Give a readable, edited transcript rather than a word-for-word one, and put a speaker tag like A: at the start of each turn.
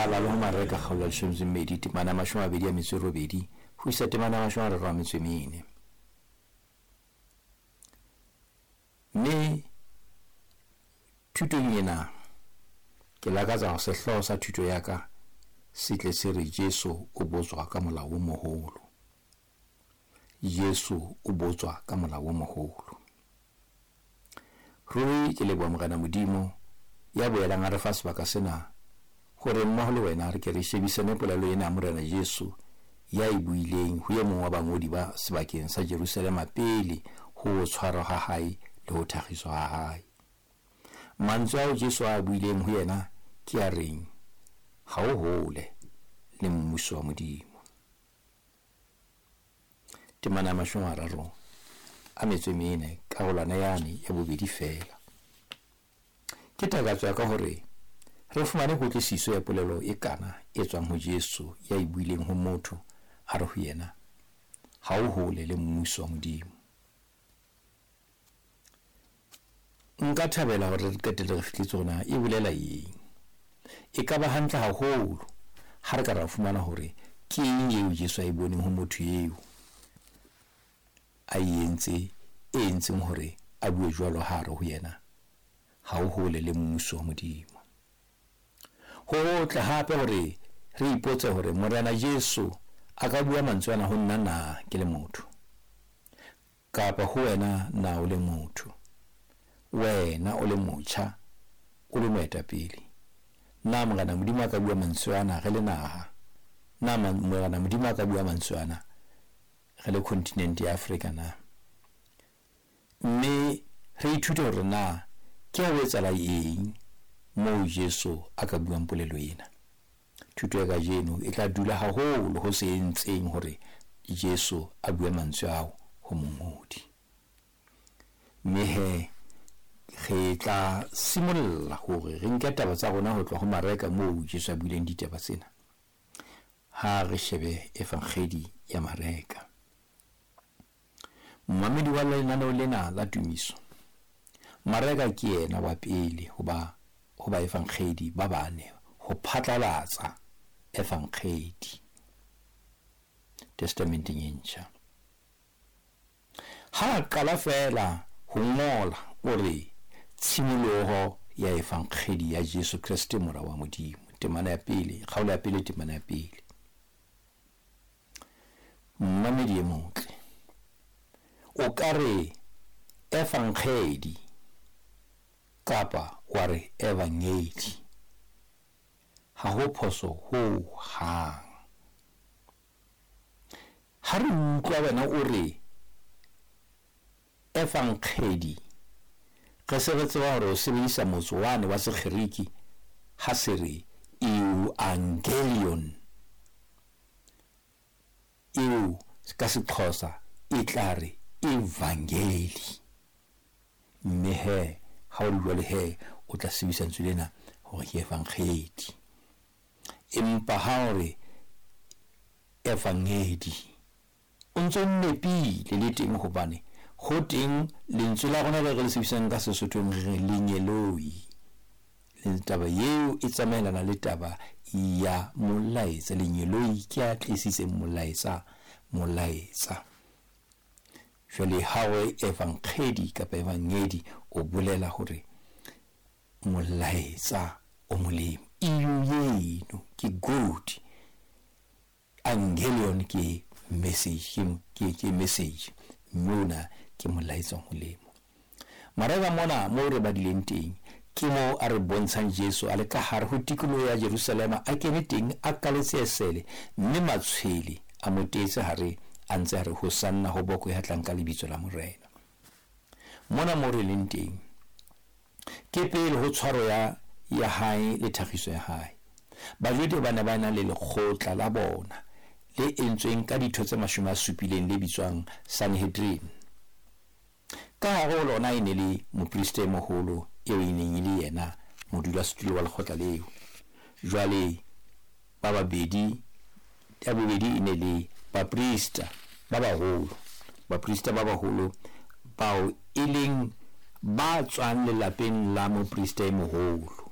A: bala le ho Mareka kgaolo ya leshome tse mmedi temana ya mashome a mabedi a metso e robedi ho isa temana ya mashome a mararo a metso e mene. Mme thutong ena ke lakatsa hore sehlooho sa thuto ya ka se tle se re Jesu o botswa ka molao o moholo. Jesu o botswa ka molao o moholo. Ruri ke leboha Morena Modimo ya boelang a re fa sebaka sena hore mmoho le wena re ke re shebisane polelo ena ya Morena Jesu ya e buileng ho e mong wa bangodi ba sebakeng sa Jerusalema pele ho tshwarwa ha hae le ho thakgiswa ha hae. Mantswe ao Jesu a buileng ho yena ke a reng, ha o hole le mmuso wa Modimo. Temana ya 34 karolwana yane ya bobedi feela. Ke takatso ya ka hore re fumane kutlwisiso ya polelo e kana e tswang ho Jesu ya e buileng ho motho a re ho yena, ha o hole le mmuso wa Modimo. Nka thabela hore re qetelle re fihletse hore na e bolela eng. E ka ba hantle haholo ha re ka ra fumana hore ke eng eo Jesu a e boneng ho motho eo a e entse e entseng hore a bue jwalo ha a re ho yena, ha o hole le mmuso wa Modimo. Ho hotle hape hore re ipotse hore Morena Jesu a ka bua mantswe ana ho nna na ke le motho, kapa ho wena na o le motho, wena o le motjha, o le moetapele. Na Morena Modimo a ka bua mantswe ana re le naha? Na Morena Modimo a ka bua mantswe ana re le kontinente ya Afrika na? Mme re ithute hore na ke ho etsahala eng moo Jesu a ka buang polelo ena. Thuto ya kajeno e tla dula haholo ho se entseng hore Jesu a bue mantswe ao ho mongodi. Mme he re tla simolla hore re nke taba tsa rona ho tloha ho Mareka moo Jesu a buileng ditaba tsena. Ha re shebe Evangeli ya Mareka. Momamedi wa lenaneo lena la tumiso, Mareka ke yena wa pele ho ba ho baevangedi ba bane ho phatlalatsa evangedi Testamenteng e ntjha. Ha a qala feela ho ngola o re tshimoloho ya evangedi ya Jesu Kreste mora wa Modimo. Temana ya pele, kgaolo ya pele, temana ya pele. Momamedi e motle, o ka re evangedi kapa wa re evangeli, ha ho phoso ho hang. Ha re utlwa wena o re evangedi, re se re tseba hore o sebedisa motso wane wa Sekgeriki ha se re euangelion, eo ka Sexhosa e tla re evangeli. Mme he ha o le jwalo he o tla sebedisa lentswe lena hore ke evangedi. Empa ha o re evangedi, o ntso nepile le teng, hobane ho teng lentswe la rona le re le sebedisang ka Sesothong re re lengeloi. Taba eo e tsamaelana le taba ya molaetsa. Lengeloi ke a tlisitseng molaetsa, molaetsa. Jwale ha o re evangedi kapa evangedi, o bolela hore molaetsa o molemo. Eo eno ke good, angelion ke message, ke message, mme ona ke molaetsa o molemo. Mareka mona moo re badileng teng ke moo a re bontshang Jesu a le ka hare ho tikoloho ya Jerusalema, a kene teng a kaletse esele, mme matshwele a mo teetse hare a ntse a re hosanna ho boko ya tlang ka lebitso la Morena. Mona moo re leng teng ke pele ho tshwaro ya hae le thagiso ya hae. Bajode ba ne ba na le lekgotla la bona le entsweng ka ditho tse 70 le bitswang Sanhedrin. Ka hare ho lona e ne le moprista e moholo eo e neng e le yena modulasetulo wa lekgotla leo. Jwale ba babedi, ya bobedi e ne le baprista ba baholo, baprista ba baholo bao e leng ba tswang lelapeng la moprista e moholo.